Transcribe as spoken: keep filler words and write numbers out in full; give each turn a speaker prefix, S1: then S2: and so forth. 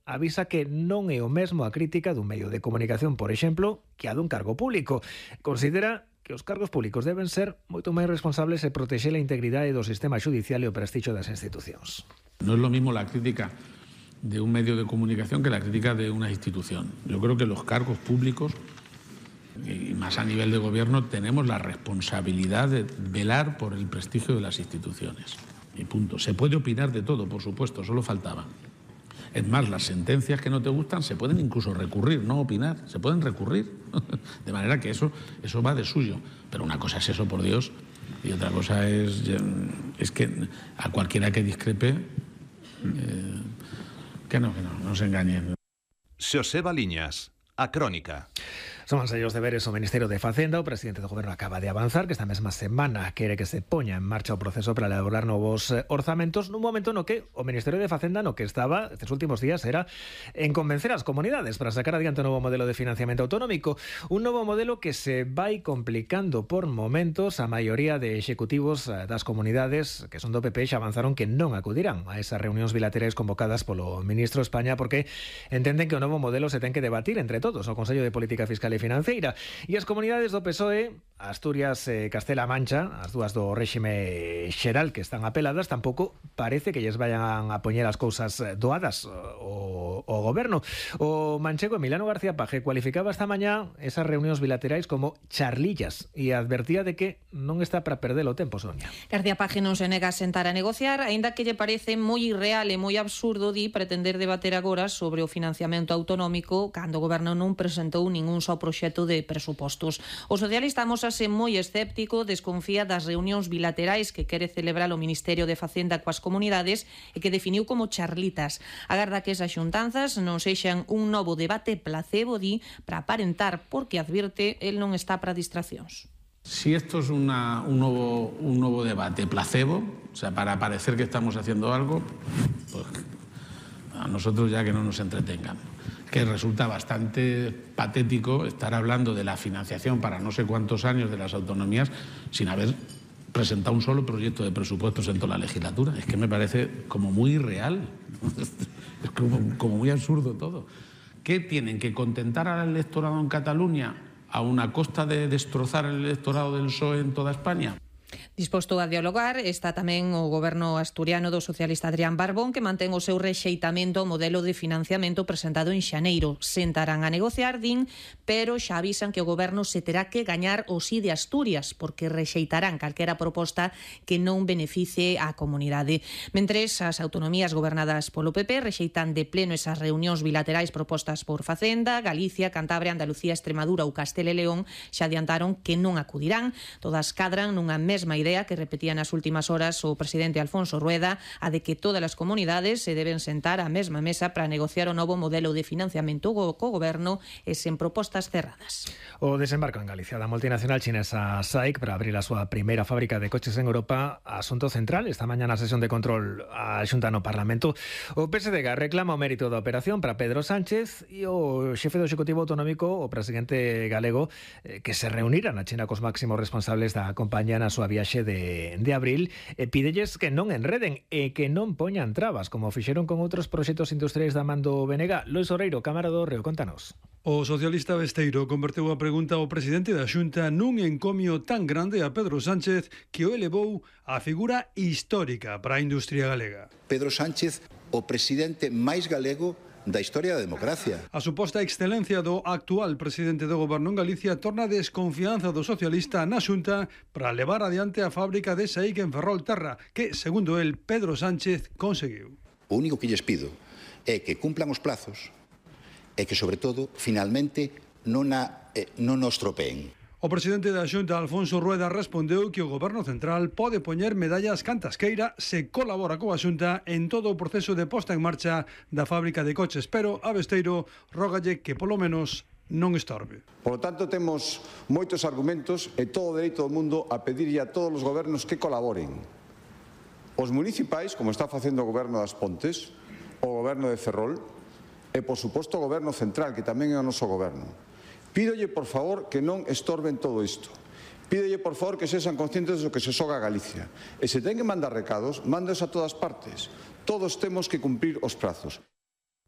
S1: avisa que non é o mesmo a crítica dun medio de comunicación, por exemplo, que a dun cargo público. Considera que os cargos públicos deben ser moito máis responsables e protexer a integridade do sistema judicial e o prestixio das institucións.
S2: No es lo mismo la crítica de un medio de comunicación que la crítica de una institución. Yo creo que los cargos públicos, y más a nivel de gobierno, tenemos la responsabilidad de velar por el prestigio de las instituciones. Y punto. Se puede opinar de todo, por supuesto, solo faltaba. Es más, las sentencias que no te gustan se pueden incluso recurrir, no opinar, se pueden recurrir. De manera que eso, eso va de suyo. Pero una cosa es eso, por Dios, y otra cosa es, es que a cualquiera que discrepe, eh, que no, que no, no se engañen.
S3: Xoseba Liñas, A Crónica.
S1: Son os sellos deberes o Ministerio de Facenda. O presidente do Goberno acaba de avanzar que esta mesma semana quere que se poña en marcha o proceso para elaborar novos orzamentos nun momento no que o Ministerio de Facenda no que estaba estes últimos días era en convencer as comunidades para sacar adiante o novo modelo de financiamento autonómico, un novo modelo que se vai complicando por momentos. A maioría de executivos das comunidades que son do P P xa avanzaron que non acudirán a esas reunións bilaterais convocadas polo ministro de España porque entenden que o novo modelo se ten que debatir entre todos o Consello de Política Fiscal e Financeira, e as comunidades do P S O E, Asturias e Castela Mancha, as dúas do réxime xeral que están apeladas, tampouco parece que lles vayan a poñer as cousas doadas o, o goberno. O manchego Emiliano García Paje cualificaba esta mañá esas reunións bilaterais como charlillas e advertía de que non está para perder o tempo, Sonia.
S4: García Paje non se nega a sentar a negociar, aínda que lle parece moi irreal e moi absurdo di pretender debater agora sobre o financiamento autonómico cando o goberno non presentou ningún só proxecto de presupostos. O socialista amosase moi escéptico, desconfía das reunións bilaterais que quere celebrar o Ministerio de Facenda coas comunidades e que definiu como charlitas. Agarda que esas xuntanzas non sexan un novo debate placebo, di, para aparentar, porque advirte, el non está para distraccións.
S2: Si esto es una, un, nuevo, un nuevo debate placebo, o sea, para parecer que estamos haciendo algo, pues a nosotros ya que no nos entretengan. Que resulta bastante patético estar hablando de la financiación para no sé cuántos años de las autonomías sin haber presentado un solo proyecto de presupuestos en toda la legislatura. Es que me parece como muy irreal, es como, como muy absurdo todo. ¿Qué tienen que contentar al electorado en Cataluña a una costa de destrozar el electorado del P S O E en toda España?
S4: Disposto a dialogar está tamén o goberno asturiano do socialista Adrián Barbón, que mantén o seu rexeitamento ao modelo de financiamento presentado en xaneiro. Sentarán a negociar, din, pero xa avisan que o goberno se terá que gañar o sí de Asturias, porque rexeitarán calquera proposta que non beneficie á comunidade. Mentres, as autonomías gobernadas polo P P rexeitan de pleno esas reunións bilaterais propostas por Facenda, Galicia, Cantabria, Andalucía, Extremadura ou Castela e León xa adiantaron que non acudirán. Todas cadran nunha mesma idea que repetía nas últimas horas o presidente Alfonso Rueda, a de que todas as comunidades se deben sentar á mesma mesa para negociar o novo modelo de financiamento co goberno e sen propostas cerradas.
S1: O desembarco en Galicia da multinacional chinesa S A I C para abrir a súa primeira fábrica de coches en Europa, asunto central esta mañá na sesión de control a Xunta no Parlamento. O P S D G reclama o mérito da operación para Pedro Sánchez e o xefe do Executivo Autonómico, o presidente galego, que se reuniran na China cos máximos responsables da compañía na súa viaxe de, de abril, e pídelles que non enreden e que non poñan trabas, como fixeron con outros proxectos industriais da man do B N G. Lois Oreiro, Cámara do Reo, contanos.
S5: O socialista Besteiro converteu a pregunta ao presidente da Xunta nun encomio tan grande a Pedro Sánchez que o elevou a figura histórica para a industria galega.
S6: Pedro Sánchez, o presidente máis galego da historia da democracia.
S5: A suposta excelencia do actual presidente do goberno en Galicia torna a desconfianza do socialista na Xunta para levar adiante a fábrica de S A I C en Ferrolterra, que, segundo el, Pedro Sánchez conseguiu.
S6: O único que lles pido é que cumplan os plazos e que, sobre todo, finalmente non, a, eh, non nos tropeen.
S5: O presidente da Xunta, Alfonso Rueda, respondeu que o Goberno Central pode poñer medallas cantas queira se colabora coa Xunta en todo o proceso de posta en marcha da fábrica de coches, pero a Besteiro rógalle que polo menos non estorbe.
S7: Por lo tanto, temos moitos argumentos e todo o dereito do mundo a pedirlle a todos os gobernos que colaboren. Os municipais, como está facendo o Goberno das Pontes, o Goberno de Ferrol e, por suposto, o Goberno Central, que tamén é o noso goberno. Pídolle, por favor, que non estorben todo isto. Pídolle, por favor, que sexan conscientes do que se xoga a Galicia. E se ten que mandar recados, mándeos a todas partes. Todos temos que cumprir os prazos.